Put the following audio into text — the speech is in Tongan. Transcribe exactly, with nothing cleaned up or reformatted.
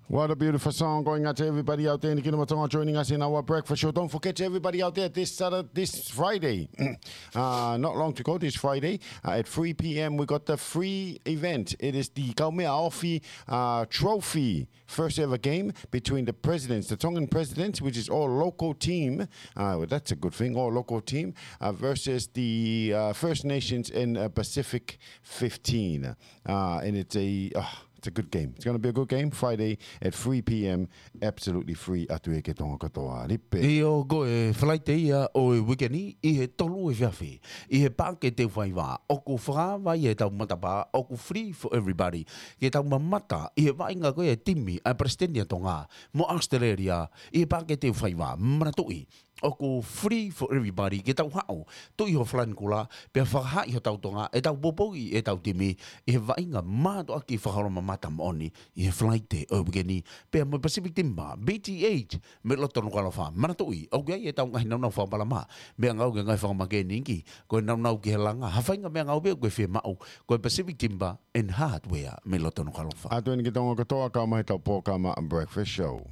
What a beautiful song going out to everybody out there in the Kingdom of Tonga joining us in our breakfast show. Don't forget to everybody out there this Saturday, this Friday, uh, not long to go, this Friday uh, at three p.m. we got the free event. It is the Kaumeʻaofi uh, Trophy first ever game between the presidents, the Tongan presidents, which is all local team. Uh, well, that's a good thing, all local team uh, versus the uh, First Nations in uh, Pacific fifteen. Uh, and it's a oh, it's a good game. It's going to be a good game Friday at three p.m. Absolutely free atu ia ki he Tonga kotoa. Lipe. ʻIo, ko e Falaite ia ʻo e uike ni, ʻi he tolu efiafi, ʻi he Paʻake Teufaiva, ʻoku fakaava ia ʻetau matapā, ʻoku free for everybody. Ke tau mamata ʻi he vaʻinga ko ia e timi ʻa e Palesiteni ʻa Tonga mo ʻAositelēlia ʻi he Paʻake Teufaiva. Manatuʻi, ʻoku free for everybody ke tau haʻu, tuʻi ho falanikula, pea fakahaaʻi hotau Tonga, ʻetau poupouʻi ʻetau timi ʻi he vaʻinga mātuʻaki fakaholomamata moʻoni ʻi he Falaite ʻo e uike ni, pea mo e Pacific Timber, B T H, mei loto Nukuʻalofa. Manatuʻi, ʻoku ʻi ai ʻetau ngaahi nāunau fakapalama, meʻangāue ki he ngaahi fakamākēniki, ko e nāunau ki he langa, ha faʻahinga meʻangāue pē ʻoku ke fiemaʻu, ko e Pacific Timber and Hardware mei loto Nukuʻalofa. ʻAtu eni ki Tonga kotoa, kau mai ʻetau polokalama Breakfast Show.